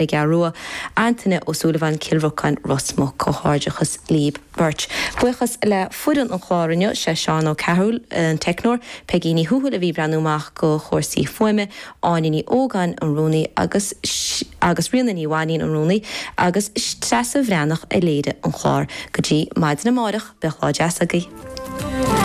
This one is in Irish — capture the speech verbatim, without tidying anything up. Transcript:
Ghearrua, Antaine Ó Súilleabháin Cill Rocáin Ros Muc comhghairdeachas libh beirt. Buíochas le foireann an chláir inniu sé Seán Ó Cearúil an teicneoir, Peigí Ní Thuathail a bhí ag breathnú amach do chúrsaí fuaime, Áine Ní Ógáin an rúnaí agus agus Ríona Ní Mhainín an rúnaí agus Treasa Bhreathnach a léirigh an clár go dtí maidin amárach bíodh lá deas agaibh.